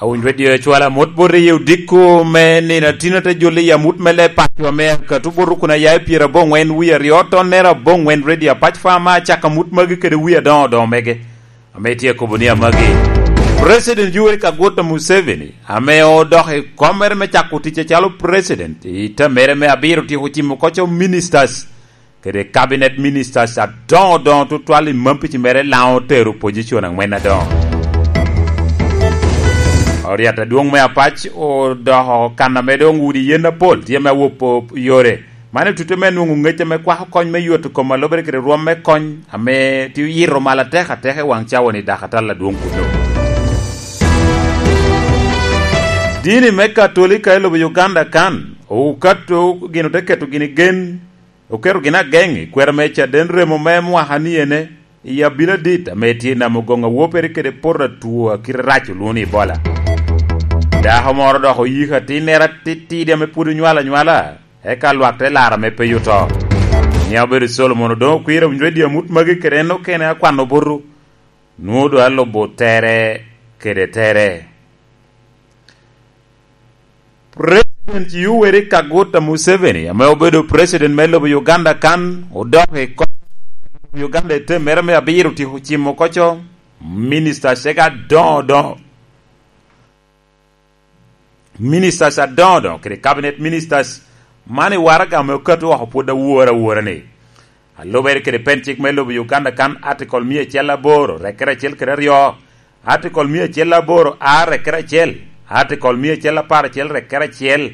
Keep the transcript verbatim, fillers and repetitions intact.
Awiny redio acwala mot bot i odiko me nino atino te joli i amut me leb paco ame akatu bot kun aya i pyera aboŋwen wie aryo tonnere aboŋwen redio apac fa ma acaka amut magi kede wie adoŋo doŋo mege. Ame tye kobo ni amagi. President Yoweri Kaguta Museveni, ame odok i komere me cako tic acalo president i tamere me abiro tyeko cimo koco ministers kede cabinet ministers adoŋo doŋo tutwal i mampici mere laŋo tero opposition angwen adoŋo. Oriat adwoŋ me apac odoko kan ame doŋ udi yen apol tye me awopo yore. Man otute me nwoŋo ŋec ame kwako kony me ywot kom alobere kede rwom me kony ame tye oyito mal atek atek i waŋ cawa ni dakatal adwoŋ kuno. Dini me Katolika i lobo Uganda kan okato gin ote keto gini gen, oketo gini ageŋ i kwero me caden remo me mwaka ni ene i abino adit ame tye namo goŋ awopere kede poto atwo akite rac olwoŋo ni Ebola. Dako moro dok oyiko atinnere atitidi ame pwod onywalo anywala, eka lwak te laro ame pe oto. Ni obedo Solomon odoŋ okwiro winyo redio amut magi kede en okene akwano butu. Nwoŋo doŋ alubo tere kede tere. President Yoweri Kaguta Museveni, ame obedo president me lobo Uganda kan, odok i kom Uganda i tem mere me abiro tyeko cimo koco, ministers ega adoŋo doŋo. Ministers adoŋo doŋo, kede cabinet ministers, man i waraga ame okato oko pwod awora awora ni. Alubere kede pen cik me lobo Uganda kan, article mia acel aboro, rekere acel kede aryo, article mia acel aboro, a rekere acel, article mia acel apar acel, rekere acel,